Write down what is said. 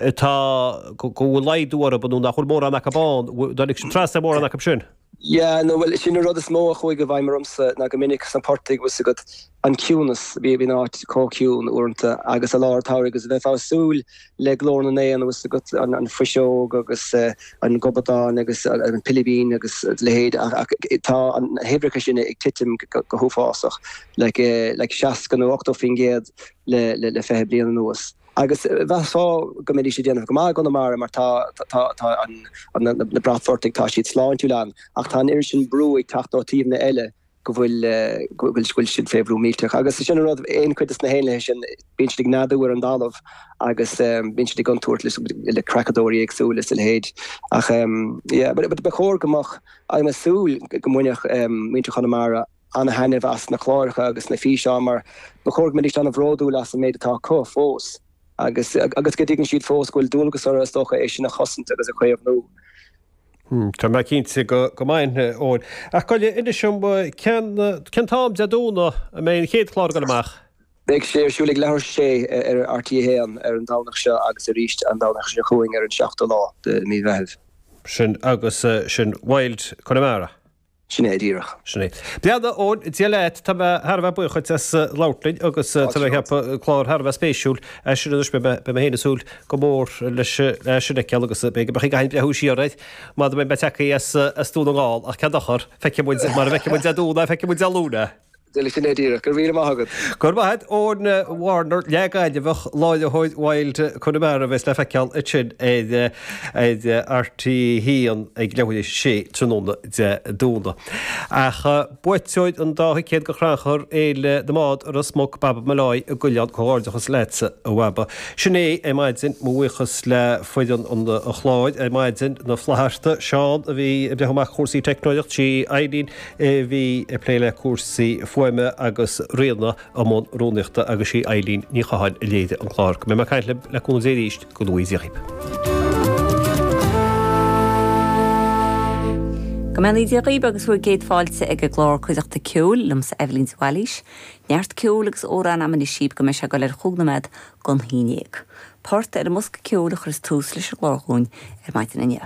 Atá, go bhfuil laghdú orthu nó nach bhfuil mórán acu ann, dtáinig sibh trasna ar mórán acu sin? Yeah, no, bhuel, sin an rud is mó a chuaigh i bhfeidhm ormsa ná go minic sna portaigh, bhfuil 's agat, an ciúnas, bhí an áit chomh ciúin uaireanta agus i lár an tsamhraidh agus bheifeá ag súil le glór na n-éan, bhfuil 's agat, an fuiseog agus an gobadán agus an pilibín agus a leithéid ach tá na huimhreacha sin ag titim go huafásach, like, like 60 nó 80% le, le 20 bliain anuas. Agus mheasfá go mbeidís ag déanamh go maith i gConamara mar tá tá tá an na bratphortaigh tá siad sláintiúil ann ach tá an oiread sin brú ag teacht ó taobhanna eile go bhfuil go bhfuil siad fé bhrú millteach. Agus sin an rud, aon chuid de na héanlaithe sin bíonn siad ag neadú ar an dtalamh agus bíonn siad i gcontúirt le creachadóirí éagsúla is a leithéid. Ach yeah but ba chóir go mbeadh, I'm ag súil go mbainfeadh muintir Chonamara an-thaitneamh as na cláracha agus na físeáin mar ba chóir go mbeidís an-bhródúil as an méid atá acu fós agus agus go dtuigeann siad fós go bhfuil dualgas orthu is dócha é sin a chosaint agus a chaomhnú. Tá mé cinnte go go mbeidh, a Eoin. Ach gabh i leith, inis dom, cén cén t-am Dé Domhnaigh a mbeidh an chéad chlár ag dul amach? Beidh sé ar siúl ag leathuair tar éis a sé ar RTÉ 1 ar an Domhnach seo agus arís an Domhnach seo chugainn ar an seachtú lá de mhí Mheithimh. Sin agus sin Wild Connemara. Sin é díreach. Sin é. Bhuel, a Eoin, Dia leat, tá mé thar a bheith buíoch duit as labhairt linn agus tá mé ag ceapadh clár thar a bheith spéisiúil é sin anois, beidh mé féin ag súil go mór leis sin a fheiceáil agus b'fhéidir go mbeadh ag breathnú siar air mar mbeidh mé tagtha as Dún na nGall ach cén dochar, feicfidh muid mar a bhfeicfidh muid Dé Domhnaigh, feicfidh muid Dé Luain é. Sin é díreach. Go raibh míle maith agat. Go raibh maith agat. Eoin Warner, leath-Ghaillimheach, láithreoir Wild Connemara a bheas le feiceáil ansin ar RTÉ 1 ag leathuair tar éis a sé tráthnóna Dé Domhnaigh. Ach buaiteoir an dá thicéad go Chrannchur Fhéile na mBád i Ros Muc, Baba Molloy i gCoileán, comhghairdeachas leatsa a Bhaba. Sin é ar maidin, mo bhuíochas le foireann an chláir ar maidin, na Flatharta, Seán a bhí ag breathnú amach cúrsaí teicneolaíocht, sí Eileen, a bhí ag plé le cúrsaí fuaime agus Ríona i mbun rúnaíochta agus sí Eilín Ní Chatháin a léirigh an clár. Go mbeidh mé ag caint libh le cúnamh Dé arís, go ngnóthaí Dia dhaoibh. Go mbeannaí Dia dhaoibh agus bhur gcéad fáilte ag an gclár Cuideachta Ceoil liomsa Eibhlín de Bhailís. Neart ceoil agus amhrán a'm anois daoibh go mbeidh sé ag dul ar chúig nóiméad gon haon dhéag. Port ar an mbosca ceoil a chuireas tús leis an gclár dhúinn ar maidin inniu.